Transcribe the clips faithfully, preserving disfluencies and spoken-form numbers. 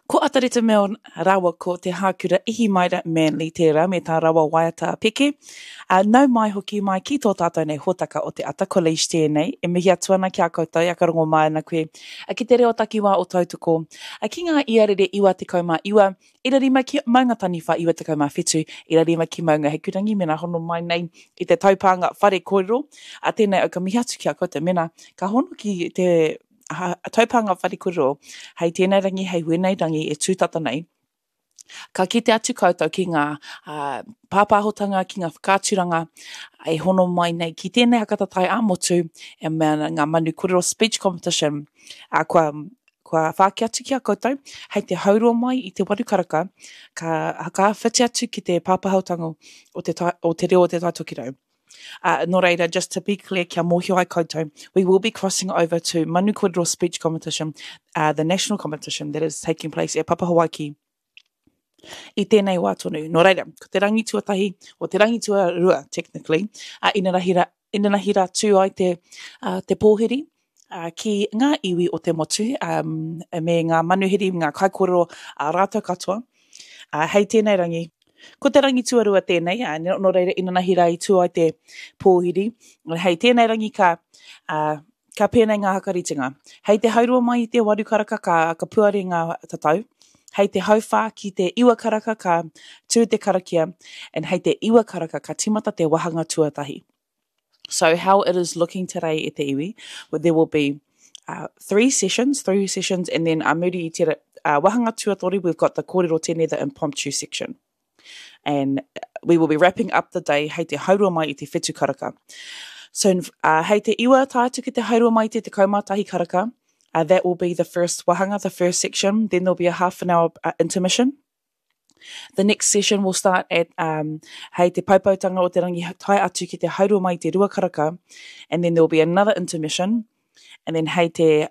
Ko Atareta Milne rāua ko Te Hākura Ihimaera Manly tērā me tā rawa waiata peke. Uh, nau mai hoki mai ki tō tātou nei hōtaka o te Ata College tēnei. E mihi atu ana ki a koutou, a ka rongo mai ana koe ki te reo takiwā o Tautoko. Ki ngā iarere iwa tekau mā iwa, ira rima ki Maunga Taniwha iwa tekau mā whitu, ira rima ki Maunga Hikurangi, mena hono mai nei i te taupānga whare kōrero. A tēnei au ka mihi atu ki a koutou, mena ka hono ki te ha, taupānga whare kōrero, hei tēnei rangi, hei wēnei rangi e tūtata nei, ka kite atu koutou ki ngā uh, pāpāhotanga, ki ngā whakaaturanga e hono mai nei ki tēnei hakatatai ā-motu e mea ana ngā Manu Kōrero Speech Competition. Uh, kua, kua whāki atu ki a koutou, hei te haurua mai i te waru karaka, ka, ka whiti atu ki te pāpāhotanga o te, o te reo o te Taitokerau. Uh, nō reira, just to be clear, kia mōhio ai koutou, we will be crossing over to Manu Kōrero Speech Competition, uh, the national competition that is taking place at Papa Hawaiki i tēnei wā tonu. Nō reira, ko te rangi tuatahi, o te rangi tuarua, technically, uh, inanahi rā, inanahi rā tū ai te, uh, te pōhiri, uh, ki ngā iwi o te motu, um, me ngā manuhiri, ngā kaikōrero a rātou katoa. Uh, hei tēnei rangi, ko te rangi tuarua tēnei, uh, nō reira inanahi rā i tū ai te pōhiri. Hei tēnei rangi ka, uh, ka pēnei ngā hakaritinga. Hei te haurua mai i te waru karaka ka, ka puare ngā tatau. Hei te hauwhā ki te iwa karaka ka tū te karakia, and hei te iwa karaka ka timata te wahanga tuatahi. So how it is looking today e te iwi, well, there will be uh, three sessions, three sessions, and then a muri i te uh, wahanga tuatoru, we've got the kōrero tene, the impromptu section. And we will be wrapping up the day hei te haurua mai i te whitu karaka. So uh, hei te iwa tae atu ki te haurua mai i te tekau mā tahi karaka, uh, that will be the first wahanga, the first section. Then there'll be a half an hour uh, intermission. The next session will start at um, hei te paupautanga o te rangi tae atu ki te haurua mai i te rua karaka, and then there will be another intermission. And then hei te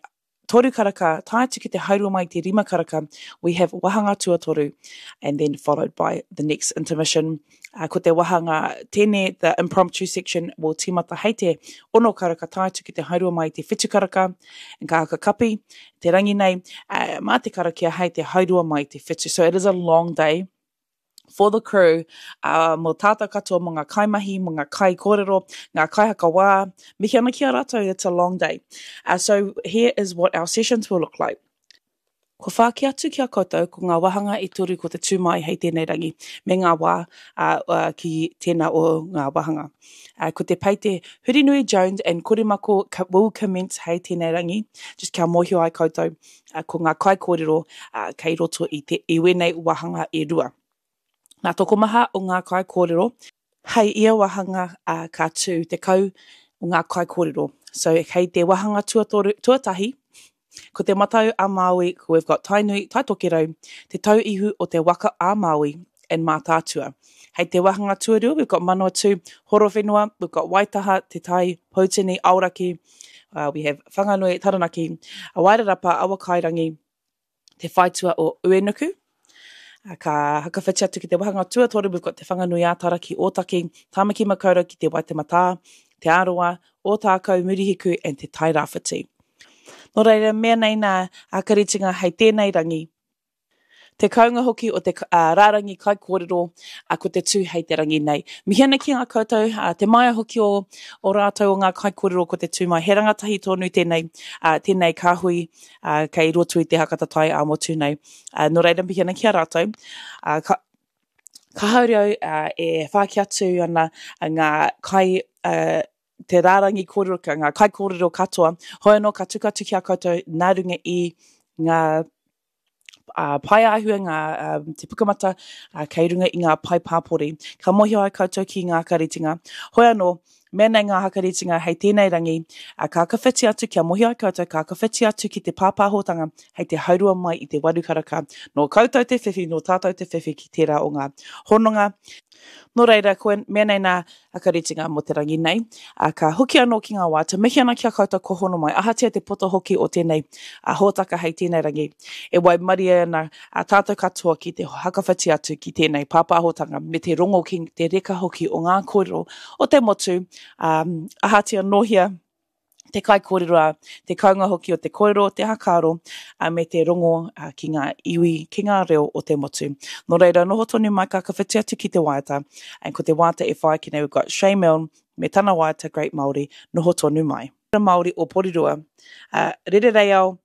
toru karaka, tae atu ki te haurua mai i te rima karaka, we have wahanga tuatoru, and then followed by the next intermission. Uh, ko te wahanga tene, the impromptu section, will timata hei te ono karaka tae atu ki te haurua mai i te whitu karaka, and ka haka kapi, te rangi nei, uh, mā te karakia hei te haurua mai i te whitu. So it is a long day for the crew, uh, mō tātou katoa, mō ngā kaimahi, mō ngā kai kōrero, ngā kaihakawā, mihi ana ki a rātou, it's a long day. Uh, so here is what our sessions will look like. Ko whāki atu ki a koutou ko ngā wahanga e toru ko te tū mai hei tēnei rangi, me ngā wā uh, uh, ki tēnā o ngā wahanga. Uh, ko te peite Hurinui Jones and Korimako will commence hei tēnei rangi, just kia mōhio ai koutou, uh, ko ngā kaikōrero uh, kei roto i, te, i wēnei wahanga e rua. Nā tokomaha o ngā kaikōrero, hei ia wahanga uh, ka tū tekau o ngā kaikōrero. So hei te wahanga tuatoru, tuatahi, ko te Matau a Māui, we've got Tainui, Taitokerau, te tauihu o te waka a Māui, and Mātaatua. Hei te wahanga tuarua, we've got Manawatu, Horowhenua, we've got Waitaha, Te Tai, Poutini, Aoraki, uh, we have Whanganui, Taranaki, Wairarapa, Awakairangi, Te Whaitua o Uenuku. Ka hakawhiti atu ki te wahanga tuatoru, we've got Te Whanganui ā-Tara ki Ōtaki, Tāmaki Makaurau ki te Waitematā, Te Arawa, Ōtākou, Murihiku and Te Tairāwhiti. Nō reira, mea nei nā hakaritinga hei tēnei rangi. Te kaunga hoki o te uh, rārangi kaikōrero uh, ko te tū hei te rangi nei. Mihi ana ki ngā koutou, uh, te maia hoki o, o rātou o ngā kaikōrero ko te tū mai. He rangatahi tonu tēnei, uh, tēnei kāhui uh, kei roto i te hakatatai ā-motu nei. Uh, nō reira, mihi ana ki a rātou. Uh, ka, ka haere au uh, e whāki atu ana ngā kai, uh, te rārangi kōrero, ngā kaikōrero katoa. Hoi anō, ka tuku atu ki a koutou nā runga i ngā uh, pae āhua, ngā, um, te pukamata uh, kei runga i ngā pae pāpori. Ka mōhio ai koutou ki ngā hakaritinga. Hoi anō, mea nei ngā hakaritinga hei tēnei rangi, uh, ka kawhiti atu, kia mōhio ai koutou, ka kawhiti atu ki te pāpāhotanga hei te haurua mai i te waru karaka. Nō koutou te whiwhi, nō tātou te whiwhi ki tērā o ngā hononga. Nō reira, koe, mea nei nā hakaritinga mō te rangi nei, uh, ka hoki anō ki ngā wā, te mihi ana ki a koutou ko hono mai, ahatia te poto hoki o tēnei uh, hōtaka hei tēnei rangi, e waimarie ana uh, tātou katoa ki te hakawhiti atu ki tēnei pāpāhotanga, me te rongo ki te reka hoki o ngā kōrero o te motu, um, ahatia nōhia Te kaikōrero a, te kounga hoki o te kōrero, te hakaaro, a, me te rongo a, ki ngā iwi, ki ngā reo o te motu. Nō reira, noho tonu mai ka whakawhiti atu ki te waiata. And ko te waiata e whai ake nei, we've got Shay Milne me tana waiata Great Māori, noho tonu mai. Māori o Porirua. Uh, rere reiao,